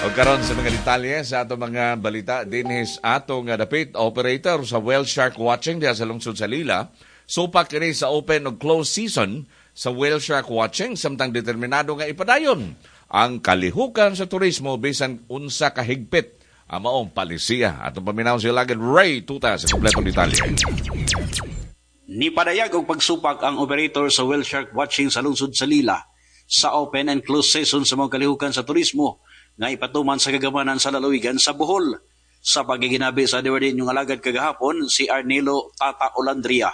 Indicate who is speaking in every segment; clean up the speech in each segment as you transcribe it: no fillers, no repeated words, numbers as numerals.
Speaker 1: O karon sa mga detalye sa atong mga balita dinhi sa atong dapit operator sa whale shark watching diha sa lungsod sa Lila. Supak kini sa open ug closed season sa whale shark watching samtang determinado nga ipadayon ang kalihukan sa turismo bisan unsa ka higpit ang maong palisiya. Atong paminaw si Lagad Ray Tuta sa kompletong detalye.
Speaker 2: Nipadayag og pagsupak ang operator sa whale shark watching sa lungsod sa Lila sa open and closed season sa mga kalihukan sa turismo nga ipatuman sa kagamanan sa lalawigan sa Bohol. Sa pagiginabi sa DYRD inyong alagad kagahapon, si Arnelo Tata Olandria,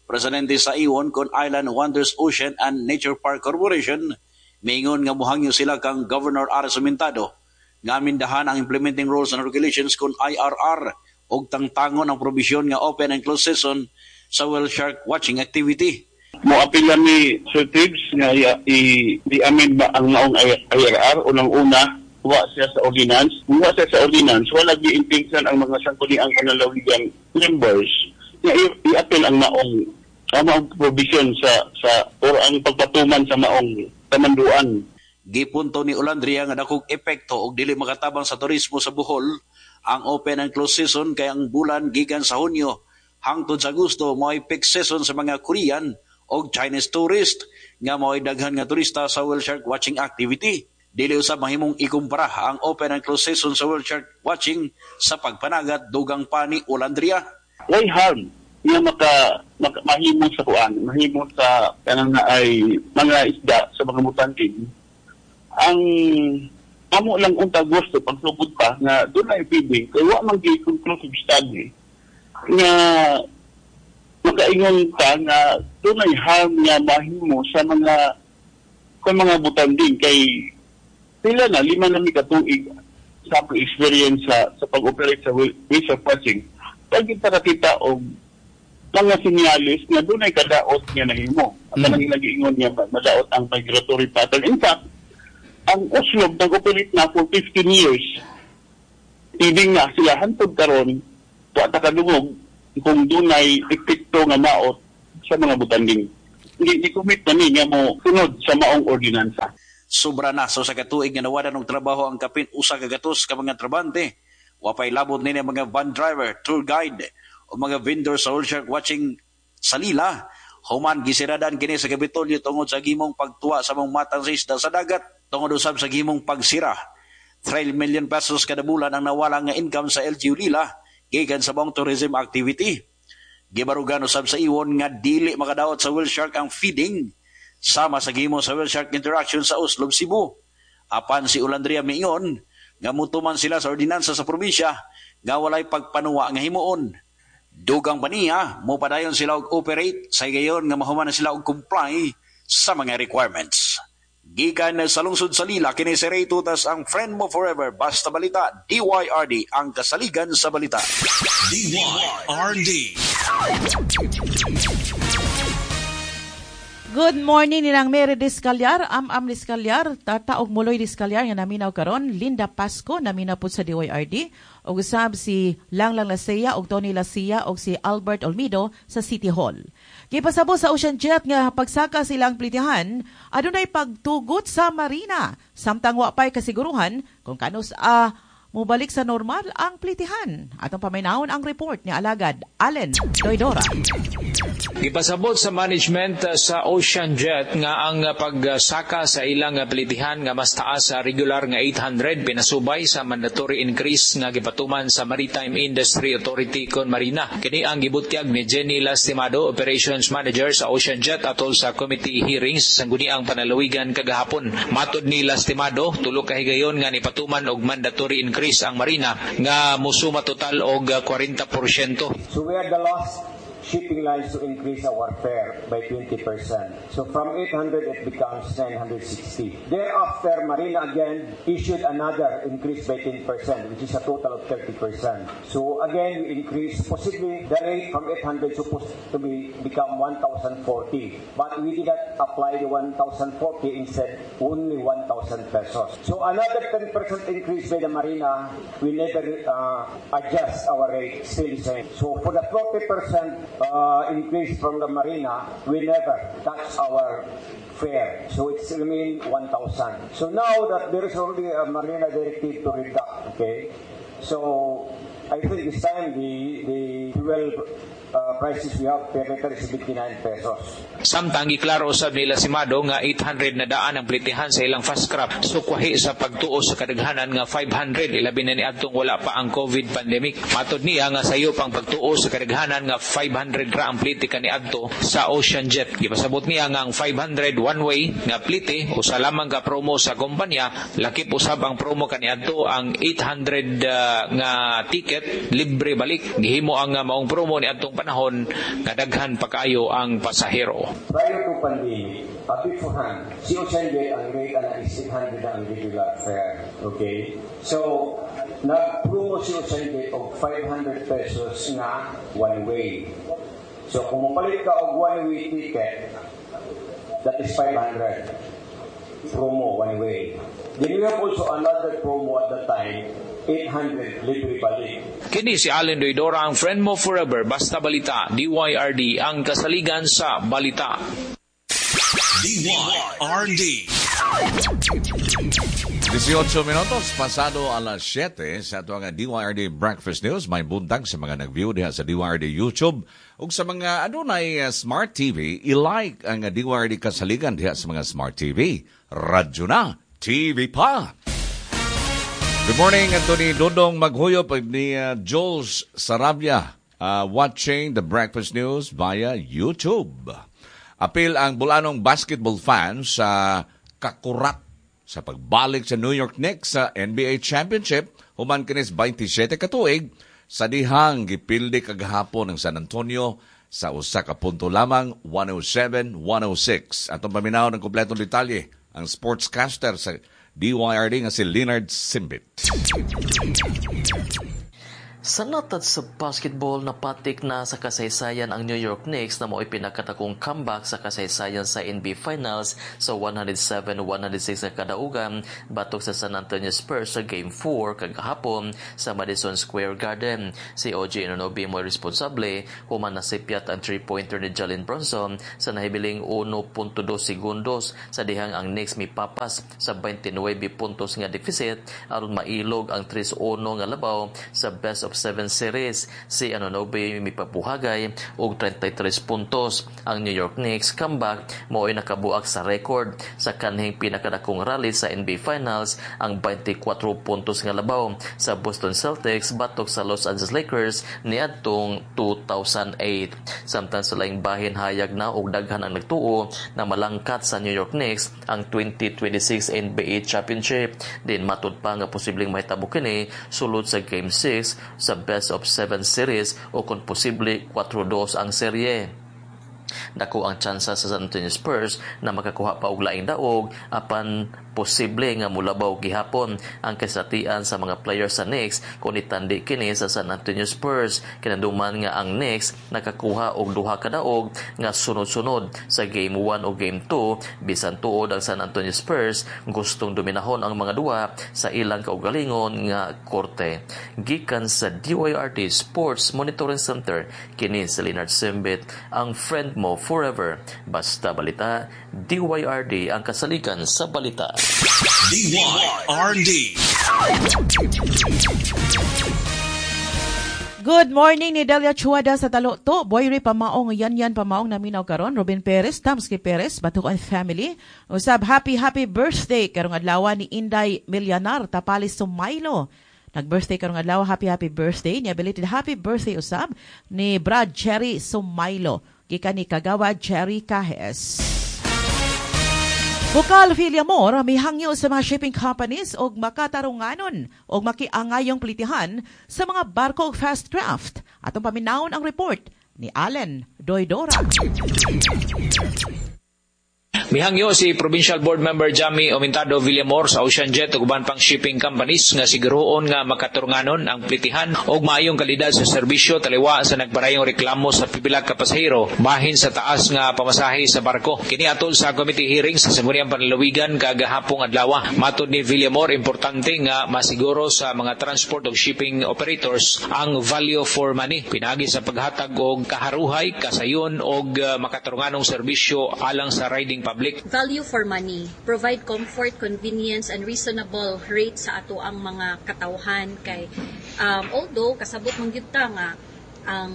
Speaker 2: presidente sa Iwon kon Island Wonders Ocean and Nature Park Corporation, miingon nga muhangyo sila kang Governor Aris Sumintado nga amindahan ang implementing rules and regulations kon IRR og tangtangon ang probisyon nga open and closed season sa whale shark watching activity.
Speaker 3: Moapila mi, Sir Tibbs, nga i-amend ba ang maong IRR. Unang-una, wa siya sa ordinance. Kung wa siya sa ordinance, wala gi-intention ang mga sangguniang panlalawigan members nga i-appeal ang maong provision sa or ang pagpatuman sa maong kamanduan.
Speaker 2: Gipunto ni Olandria nga dakog epekto og dili makatabang sa turismo sa Bohol ang open and closed season kay ang bulan gikan sa Hunyo hangtod sa Agosto mao'y peak season sa mga Korean og Chinese tourist nga mao'y daghan nga turista sa whale shark watching activity. Dili usab mahimong ikumpara ang open and closed season sa whale shark watching sa pagpanagat, dugang pa ni Olandria.
Speaker 3: Why harm nga maka mahimo sa kuan, mahimo sa kanang na ay mga isda sa mga butanding? Ang amo lang unta gusto pagsugod pa nga dunay feeding kay wa man gi conclusive study nga makaingon ka nga dunay harm nga mahimo sa mga butanding kay sila na 5 na mi katuig sa akong experience sa pag-operate sa whale shark watching, pag kita kakita og mga sinyalis nga dunay kadaot nga nahimo. Ang kanang ilang niya madaot ang migratory pattern. In fact, ang Oslob nag-operate na for 15 years. Feeding na sila hantod karon, wa ta kadungog kung dunay epekto nga maot sa mga butanding. Hindi commit na ni nga mo sunod sa maong ordinansa.
Speaker 2: Sobra na sa 1 ka tuig nga nawadan og trabaho ang kapin 100 ka mga trabante. Wapay labot nini ang mga van driver, tour guide o mga vendor sa whale shark watching sa Lila. Human gisiradan kini sa Kapitolyo tungod sa gimong pagtuwa sa mga matang sa isda sa dagat tungod usab sa gimong pagsira. 3 million pesos kada bulan ang nawala nga income sa LGU Lila gikan sa maong tourism activity. Gibarugan usab sa iwon nga dili makadaot sa whale shark ang feeding sama sa gimo sa whale shark interaction sa Oslob, Cebu. Apan si Olandria miingon nga mutuman sila sa ordinansa sa probinsya nga walay pagpanuwa nga himuon. Dugang pa niya, mopadayon sila og operate sa higayon nga mahuman na sila og comply sa mga requirements. Gikan sa lungsod sa Lila, kini si Ray Tutas, ang friend mo forever. Basta balita, DYRD, ang kasaligan sa balita.
Speaker 4: DYRD.
Speaker 5: Good morning nilang Mary Discalyar, Am-Am Discalyar, Tata og Muloy Discalyar nga naminaw karon, Linda Pasco naminaw pud sa DYRD, ug usab si Langlang Lasea og Tony Lasia og si Albert Olmido sa City Hall. Gipasabot sa Ocean Jet nga pagsaka silang plitihan, adunay pagtugot sa marina samtang wa pay kasiguruhan kung kanus mobalik sa normal ang plitihan. Atong paminawon ang report ni alagad Allen Doidora.
Speaker 6: Gipasabot sa management sa Ocean Jet nga ang pagsaka sa ilang plitihan nga mas taas sa regular nga 800 pinasubay sa mandatory increase nga gipatuman sa Maritime Industry Authority kon Marina. Kini ang gibutyag ni Jenny Lastimado, Operations Manager sa Ocean Jet, atol sa committee hearings sa Sangguniang Panlalawigan kagahapon. Matod ni Lastimado, 3 ka higayon nga nipatuman og mandatory increase ang Marina nga musuma total og 40%.
Speaker 7: So we are the last shipping lines to increase our fare by 20%. So from 800, it becomes 960. Thereafter, Marina again issued another increase by 10%, which is a total of 30%. So again, we increased possibly the rate from 800 supposed to be become 1,040. But we did not apply the 1,040, instead only 1,000 pesos. So another 10% increase by the Marina, we never adjust our rate, still the same. So for the 40% increase from the Marina, we never touch our fare. So it's remained 1,000. So now that there is already a Marina directive to reduct, okay? So I think this time the fuel prices we have per liter is 79 pesos.
Speaker 6: Samtang giklaro usab nila si Mado nga 800 na daan ang plitihan sa ilang fast craft, sukwahi sa pagtuo sa kadaghanan nga 500, ilabi na niadtong wala pa ang COVID pandemic. Matod niya nga sayo pang pagtuo sa kadaghanan nga 500 ra ang plite kaniadto sa Ocean Jet. Gipasabot niya nga ang 500 one way nga plite usa lamang ka promo sa kompanya, lakip usab ang promo kaniadto ang 800 nga ticket libre balik. Gihimo ang maong promo niadtong panahon nga daghan pa kaayo ang pasahero.
Speaker 7: Prior to pandemic, beforehand, si Ocean Jet ang rate ana is 800 na ang regular fare. Okay? So, nag-promo si Ocean Jet og 500 pesos nga one way. So, kung mapalit ka og one way ticket, that is 500. Promo one way. Then we have also another promo at the time, 800 libre balik.
Speaker 6: Kini si Allen Doydora, ang friend mo forever. Basta balita, DYRD, ang kasaligan sa balita.
Speaker 4: DYRD.
Speaker 1: 18 minutos pasado alas 7 sa ato ang DYRD Breakfast News. May buntag sa mga nag-view diha sa DYRD YouTube ug sa mga adunay Smart TV, i-like ang DYRD kasaligan diha sa mga Smart TV. Radyo na, TV pa. Good morning, Anthony Dodong Maghuyop ni Jules Sarabia, watching the Breakfast News via YouTube. Apil ang Bulanong basketball fans sa kakurat sa pagbalik sa New York Knicks sa NBA Championship human kinis 27 katuig sa dihang gipildi kagahapon ng San Antonio sa usa ka punto lamang, 107-106. Atong paminaw ng kompletong detalye ang sportscaster sa DYRD nga si Leonard Simbit.
Speaker 8: Sa natad sa basketball, napatik na sa kasaysayan ang New York Knicks na mao'y pinakatakong comeback sa kasaysayan sa NBA Finals sa 107-106 na kadaugan batok sa San Antonio Spurs sa Game 4 kagahapon sa Madison Square Garden. Si OG Anunoby mo'y responsable human nasipyat ang 3-pointer ni Jalen Brunson sa nahibiling 1.2 segundos sa dihang ang Knicks mipapas sa 29 puntos nga deficit aron mailog ang 3-1 nga labaw sa best of 7 series. Si Anunoby mipapuhagay og 33 puntos. Ang New York Knicks comeback mao'y nakabuak sa record sa kanhing pinakadakong rally sa NBA Finals, ang 24 puntos nga labaw sa Boston Celtics batok sa Los Angeles Lakers niadtong 2008. Samtang sa laing bahin, hayag na og daghan ang nagtuo na malangkat sa New York Knicks ang 2026 NBA Championship. Din matud pa nga posibleng mahitabo kini sulod sa Game 6 sa best of 7 series o kung posible 4-2 ang serye. Dako ang tsansa sa San Antonio Spurs na makakuha pa og laing daog, apan posible nga mulabaw gihapon ang kasatian sa mga players sa Knicks kung itandi kini sa San Antonio Spurs. Kinanduman nga ang Knicks nakakuha og duha ka daog nga sunod-sunod sa Game 1 o Game 2, bisan tuod ang San Antonio Spurs gustong dominahon ang mga duwa sa ilang kaugalingon nga korte. Gikan sa DYRD Sports Monitoring Center, kini si Leonard Simbit, ang friend mo forever. Basta balita, DYRD ang kasaligan sa balita.
Speaker 4: DYRD.
Speaker 5: Good morning ni Delia Chuada sa Talukto. Boyri Pamaong, Yan Pamaong naminaw karon. Robin Perez, Tamski Perez, Batukan family. Usab happy happy birthday karong adlaw ni Inday Milyanar Tapalis Sumaylo. Nag-birthday karong adlaw, happy happy birthday. Ni belated happy birthday usab ni Brad Cherry Sumaylo. Gikan ni Kagawa Jerry Cajes. Bukal Villamor mihangyo sa mga shipping companies og makatarunganon og makiangayong plitihan sa mga barko og fast craft. Atong paminawon ang report ni Allen Doydora.
Speaker 6: Mihangyo si Provincial Board Member Jamie Omentado Villamor sa Ocean Jet ug uban pang shipping companies nga siguroon nga makaturunganon ang plitihan og maayong kalidad sa serbisyo taliwa sa nagparayong reklamo sa pipila ka pasahero bahin sa taas nga pamasahe sa barko. Kini atol sa committee hearing sa Sangguniang Panlalawigan kagahapong adlaw. Matod ni Villamor, importante nga masiguro sa mga transport ug shipping operators ang value for money pinaagi sa paghatag og kaharuhay, kasayon og makaturunganong serbisyo alang sa riding public.
Speaker 9: Value for money, provide comfort, convenience and reasonable rate sa ato ang mga katawhan kay although kasabot man gyud ta nga ang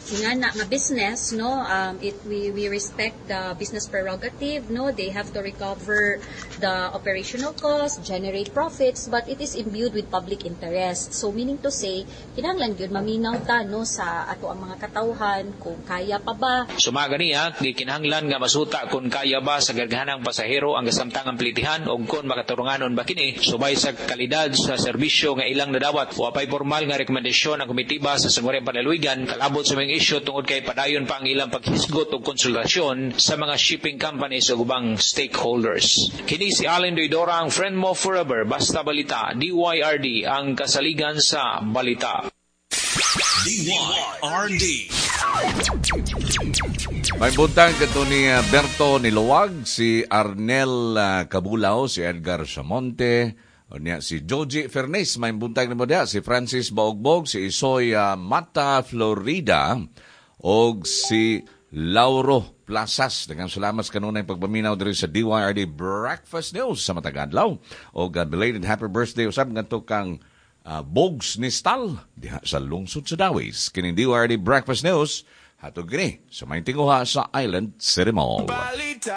Speaker 9: ingana nga business, no, it we respect the business prerogative, no, they have to recover the operational cost, generate profits, but it is imbued with public interest. So meaning to say, kinahanglan gyud maminaw ta, no, sa ato ang mga katawhan kung kaya pa ba.
Speaker 6: Sumaga niya, gikinahanglan nga masuta kung kaya ba sa gaghanang pasahero ang kasamtangang plitihan o kung makaturunganon ba kini subay sa kalidad sa serbisyo nga ilang nadawat. Wa pay formal nga rekomendasyon ang komitiba sa Sangguniang Panlalawigan kalabot sa mga isyu tungod kay padayon pa ang ilang paghisgot og konsultasyon sa mga shipping companies ug ubang stakeholders. Kini si Allen Doidora, ang friend mo forever, basta balita, DYRD, ang kasaligan sa balita.
Speaker 4: DYRD.
Speaker 1: May buntag kato ni Berto Niluwag, si Arnel Cabulao, si Edgar Samonte, niya si Joji Fernes, may buntag nimo diha, si Francis Baogbog, si Isoy Mata Florida, og si Lauro Plazas. Daghang salamat sa kanunay pagpaminaw diri sa DYRD Breakfast News sa matag adlaw. Og belated happy birthday usab ngadto kang Bogs ni Stal diha sa lungsod sa Dawis. Kining DYRD Breakfast News hatod kini sa may tinguha sa Island City Mall.
Speaker 4: Balita.